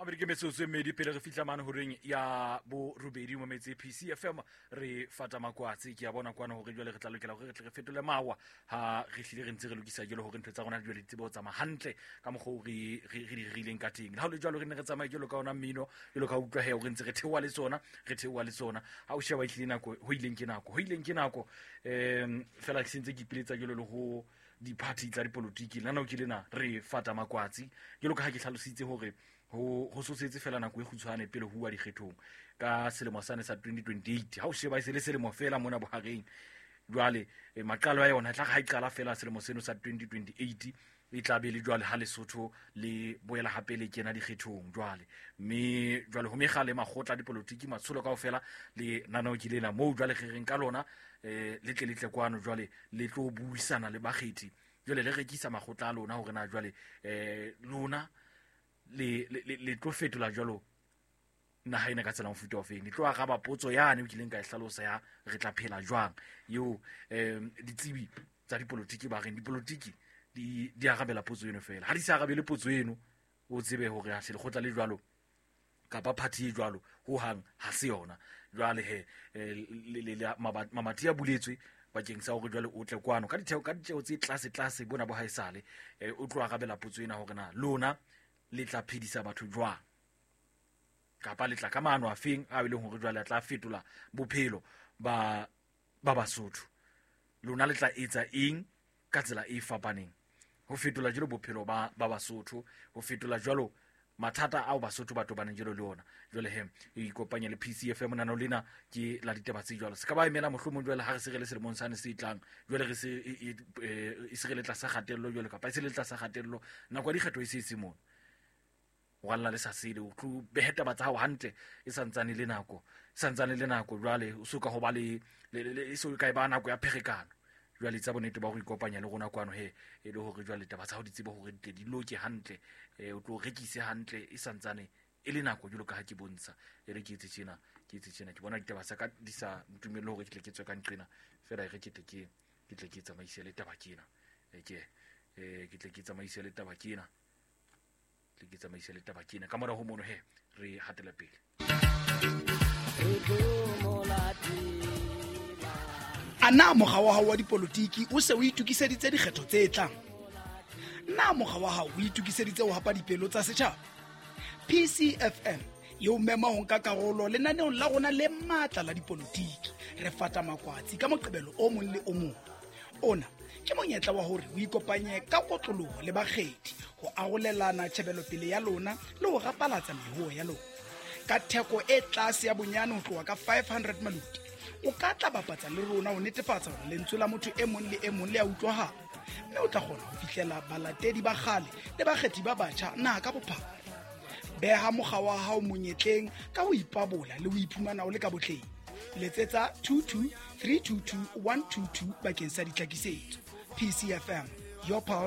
Mabedi ke metsotso e mmedi pele re fihla mane horeng ya borobedi mo metse PCFM. Re fata makwatsi, ke a bona kwana hore jwale re tla lokela hore re tle re fetole mawa ha re hlile re ntse re lokisa jwale hore ntho tsa rona jwale di tsebe ho tsamaya hantle ka mokgwa o re di rerileng ka teng. Le ha ho le jwalo, re ne re tsamaye jwalo ka ona mmino, jwalo ka utlwa he, re ntse re theoha le tsona, re theoha le tsona. Ha o sheba ehlile nako ho ileng ke nako, ho ileng ke nako. Fela ke sentse ke ipiletsa jwalo le ho di-party tsa dipolotiki. Lenaneo ke lena, re fata makwatsi, jwalo ka ha ke hlalositse hore ho sosetse fela nako e kgutshwane pele ho uwa dikgethong ka selemo sane sa 2028. Ha o sheba e se le selemo fela mona bohareng jwale, maqalo a yona e tla ha e qala fela selemo seno sa 2028, e tla be le jwale ha Lesotho le boela hape le kena dikgethong jwale. Mme jwale ho mekga le makgotla a dipolotiki, matsholo kaofela, le naneo ke lena moo jwale re reng ka lona, le tle le tle kwano jwale le tlo buisana le bakgethi, jwale le rekisa makgotla a lona hore na jwale lona le tlo fetola jwalo naha ena ka tsela mofuta o feng. Le tlo araba potso yane o kileng ka e hlalosa ya re tla phela jwang, eo ditsebi tsa dipolotiki ba reng dipolotiki di arabela potso eno fela. Ha di sa arabele potso eno, o tsebe hore ha se lekgotla le jwalo kapa party e jwalo ho hang ha se yona. Jwale he, mamati a buletswe bakeng sa hore jwale o tle kwano ka ditheo, ka ditjeo tse tlase tlase bona bo haesale, o tlo arabela potso ena hore na lona le tla phedisa batho jwang, kapa le tla ka maano a feng a e leng hore jwale a tla fetola bophelo ba Basotho. Lona le tla etsa eng ka tsela e fapaneng ho fetola jwalo bophelo ba Basotho, ho fetola jwalo mathata ao Basotho ba tobaneng jwalo le ona. Jwale he, e ikopanye le PCFM. Nano lena ke la ditaba tse jwalo, se ka ba emela mohlomong jwale ha re se re le selemong sane se tlang, jwale re se e se re le tlasa kgatello jwale, kapa e se le tlasa kgatello, nako ya dikgetho e se e se mona, o ralla le sa sele, o tlo behe taba tsa hao hantle e santsane le nako, e santsane le nako. Jwale o so ka ho ba le e so ka e ba nako ya pherekano. Jwale tsa bonnete ba go ikopanya le rona kwano he, e le hore jwale taba tsa hao di tsebe hore di tle di loke hantle, o tlo rekise hantle e santsane e le nako, jwalo ka ha ke bontsha. E re ke etse tjena, ke etse tjena, ke bona ditaba tsa ka di sa ntumelle hore ke tle ke tswe ka nqena fela. E re ke tle ke tsamaise le taba kena, ke tle ke tsamaise le taba kena, tle ke tsamaise le taba kena. Ka mora ho mono he, re hatela pele. A na mokga wa hao wa dipolotiki o se o itokiseditse dikgetho tse tlang? Na mokga wa hao o itokiseditse ho hapa dipelo tsa setjhaba? PCFM e o mema ho nka karolo lenaneong la rona le matla la dipolotiki, re fata makwatsi, ka Moqebelo o mong le o mong. Ona ke monyetla wa hore o ikopanye ka kotloloho le bakgethi ho arolelana tjhebelopele ya lona le ho rapalatsa mehoho ya lona. Ka theko e tlase ya bonyane ho tloha ka 500 maluti, o ka tla bapatsa le rona ho netefatsa hore lentswe la motho e mong le e mong le a utlwahala, mme o tla kgona ho fihlela balatedi ba kgale le bakgethi ba batjha naha ka bophara. Beha mokga wa hao monyetleng ka ho ipabola le ho iphumana o le ka botleng. Letsetsa 22 322 122 bakeng sa ditlhakisetso. PCFM, your pulse.